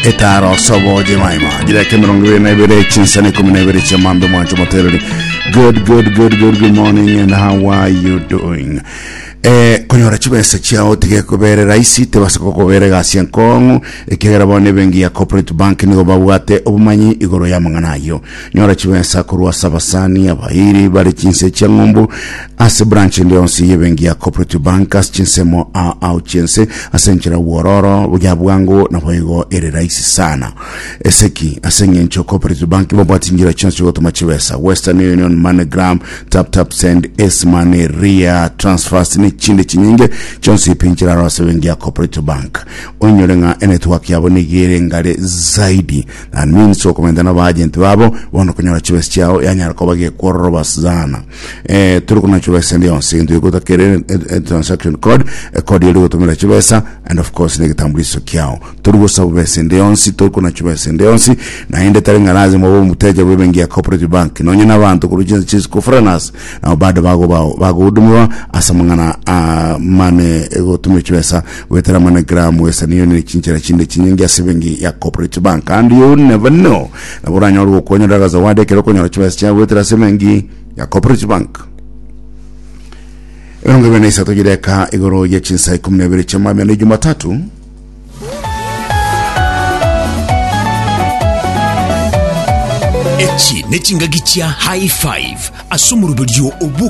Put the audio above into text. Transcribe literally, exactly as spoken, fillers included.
Etaro sobo jemaima jireke emirongo ibere na ibere chinsana ikumi na ibere chiamambe mwancho motereri. Good, good, good, good, good morning, and how are you doing? Eh, konyora chibesa chiao tige kobere rahisi, tebasa kokobere gasi enkong'u, ekiagera bono ebenki ya Cooperative Bank nigo babwate obomanyi igoro ya amang'ana ayio. Nyora chibesa korwa ase abasani abairi bare chinse chia ng'umbu ase branch ende yonsi y'ebenki ya Cooperative Bank ase chinsemo ao ao chiense ase enchera bwororo ya bwango, naboigo ere rahisi sana eseki ase eng'encho Cooperative Bank babwate chinchera chionsi chigotoma chibesa: Western Union, MoneyGram, Tap Tap Send, S Money, Ria transfers ne chinde chinyinge chionsi pi nchera aro ase benki ya Cooperative Bank. Onyore ng'a enetwork yabo nigo ere ngare zaidi. That means okomenta na baagent babo bono konyora chibesa chiao yanyara koba gekwororoba sana. eh, turi kuna chibesa ende yonsi egento gegotakere transaction code, code eri gotumira chibesa, and of course negitambulisho kiao. Turi gosaba besa ende yonsi, turi kuna chibesa ende yonsi, naende tari ng'a lazima obe omuteja bwa ebenki ya Cooperative Bank. Nonye na abanto korwa chinse chisiko foreigners nabo bado bago bagohudumiwa ase amang'ana ah, mane gotumia chibesa gwetera MoneyGram, Western Union, chinchera chinde chinyinge ase ebenki ya Cooperative Bank. And you never know, nabo oranyore gokonyora zawadi ekero okonyora chibesa chiao gwetera ase ebenki ya Cooperative Bank. Ebirongo ibere na isato gireka igoro ya chinsa ikumi na ibere chia na Jumatatu. Echi nechingaki chia High Five ase omoruberio obu.